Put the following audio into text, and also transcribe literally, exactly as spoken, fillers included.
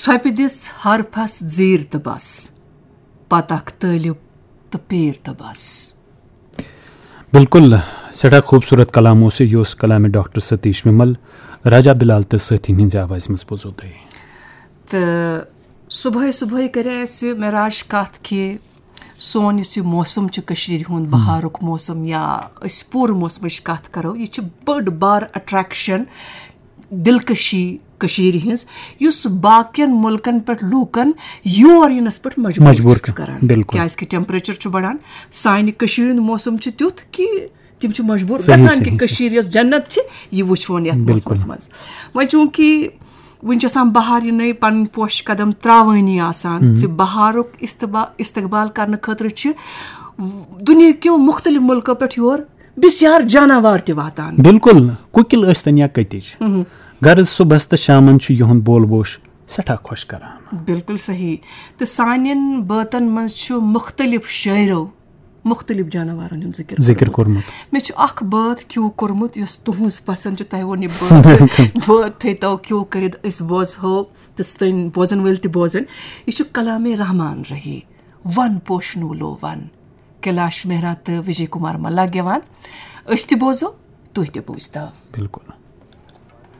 ژھۄپہِ دِژ حرفس زیٖر تہٕ بس، پتہٕ اکھ طٲلب تہٕ پیٖر تہٕ بس۔ بالکل، سٮ۪ٹھاہ خوٗبصوٗرت کلام اوس یہِ۔ یہِ اوس کلامِ ڈاکٹر ستیش ومل، راجا بلال تہٕ سٲتھین ہٕنٛزِ آوازِ منٛز بوزو تۄہہِ۔ تہٕ صبحٲے صبحٲے کرے اَسہِ معراج کتھ کہِ سون یُس یہِ موسم چھُ کٔشیٖرِ ہُنٛد، بہارُک موسم یا أسۍ پوٗرٕ موسمٕچ کتھ کرو، یہِ چھِ بٔڑ بار اٹریکشن، دلکشی کٔشیٖرِ ہٕنٛز، یُس باقین مُلکن پٮ۪ٹھ لوٗکن یور یِنس پٮ۪ٹھ مجبوٗر مجبوٗر چھُ کران۔ کران۔ بِلکُل۔ کیازِ کہِ ٹیمپریچر چھُ بڑان، سانہِ کٔشیٖرِ ہُنٛد موسم چھُ تیُتھ کہِ تِم چھِ مجبوٗر صحیح، گژھان کہِ صحیح، صحیح۔ کٔشیٖر یۄس جنت چھِ، یہِ وٕچھون یتھ بِلکُل۔ موسمس منٛز۔ وۄنۍ چوٗنٛکہِ وٕنہِ چھِ آسان بہار یِنَے، پنٕنۍ پوشہِ قدم ترٛاوٲنی آسان، زِ بہارُک استبا-، استقبال کرنہٕ خٲطرٕ چھِ دُنیاہکیو مُختٔلِف مُلکو پٮ۪ٹھ یور بسیار جاناوار تہِ واتان۔ بِلکُل، کُکِل ٲسۍتن یا کٔتِج، غرض صُبحس تہٕ شامن چھُ یِہُنٛد بول بوش سٮ۪ٹھاہ خۄش کران۔ بِلکُل صحیح۔ تہٕ سانٮ۪ن بٲتن منٛز چھُ مُختٔلِف شٲعرو مُختٔلِف جاناوارن ہُنٛد ذِکر ذِکر کوٚرمُت۔ کوٚرمُت۔ مےٚ چھُ اکھ بٲتھ کیو کوٚرمُت، یۄس تُہٕنٛز پسنٛد چھِ، تۄہہِ ووٚن یہِ بٲتھ، بٲتھ تھٲیتو کیو کٔرِتھ، أسۍ بوزہو تہٕ سٲنۍ بوزن وٲلۍ تہِ بوزن۔ یہِ چھُ کلامِ رحمان رحی، ون پوشنو لو ون، کیلاش مہرا تہٕ وجے کمار ملا گٮ۪وان۔ أسۍ تہِ بوزو، تُہۍ تہِ بوٗزتو۔ بِلکُل۔